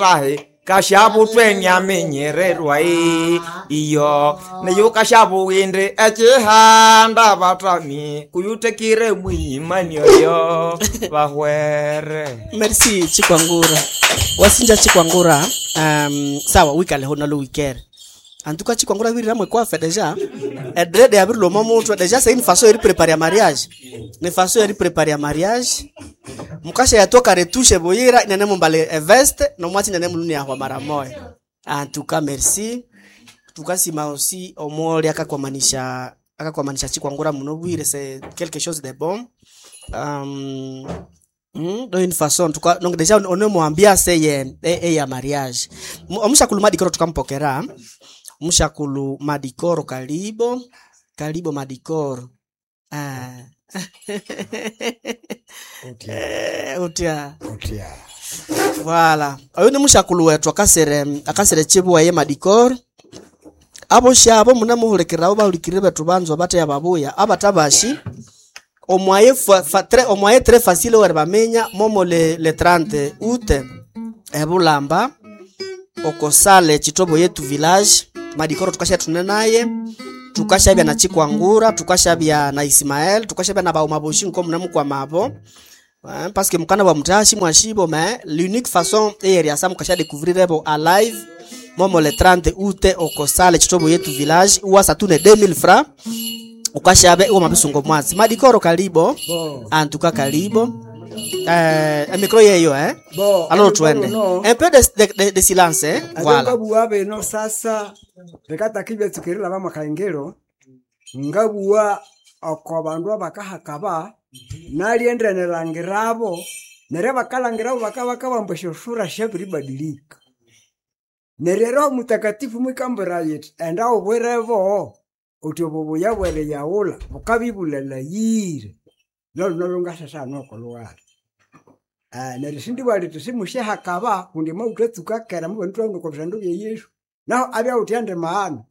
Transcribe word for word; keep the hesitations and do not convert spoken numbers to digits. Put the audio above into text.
mutahi kashabutwe nyamenyererwa iyo neyo kashabuwindi ekihanda batami kuyutekire mwiyimani oyo bahwere. Merci Chikwangura. Wasinja Chikwangura. Um, sawa wikale hona lo wikere. En tout cas Chikwangura wirira mwe kwa fait déjà. E dread ya birlo momo déjà c'est une façon de préparer mariage. Ni façon de préparer mariage. Mukasha yatoka retouche boyira inene mumbale e veste no mwati nene muluni ya mara moya. En tout cas merci. Tukasima aussi omoli akakwamanisha akakwamanisha Chikwangura muno bwire, c'est quelque chose de bon. Um, Mm, d'une façon en tout cas, donc déjà on est mo ambiance ye e, ya mariage. Omushakulu Madikoro tukampokera. Mushakulu Madikoro, karibo karibo Madikoro. Ah. Eh, utia. Utia. Voilà, oyo ni mushakulu wetu akasere akasere chibuwa ye Madikoro. Abo shabo munamuhulikirira, bahulikirire betu banzwa bateya babuya abatabashi omwaye fa, fa, tre, omwaye très facile wer bamenya momo le, le trente août ebulamba okosale Chitobo Yetu village. Madikoro tukasha tune naye, tukashabya na Chikwangura, tukashabya na Ismael, tukashabya na baumaboshi nko munamu mabo. Hein, parce que mukana wa mutashi mwashibo, mais l'unique façon eyeri asa mukasha découvrir ebo alive momo le trente août okosale Chitobo Yetu village uwasa tune deux mille francs ukashabe uwo mabisungo mwazi. Madikoro, karibo. Bon. En tout cas karibo. Eh, micro yeyo, eh. Bon, Alors twende. no. Un peu de, de, de, de silence, eh. Voilà. Ngabuwa beno sasa rekata kibya bamakaingero ngabuwa oko bandu abakahakaba naliendenelangirabo neryo bakalangirabo bakabakabamba esyoshura syabiribadilika. Neryo Roho Mutakatifu mwikambira yiti enda ubwirebo uthi obubuya bweriyawula bukabibulalayire lolu nolungasesa nokoluwala. Ah, neryo sindibwa liti simusyahakaba kundi mawuthatsuka kera mubanu twahunduka obisandu bya Yesu naho abya wuthi andi maana.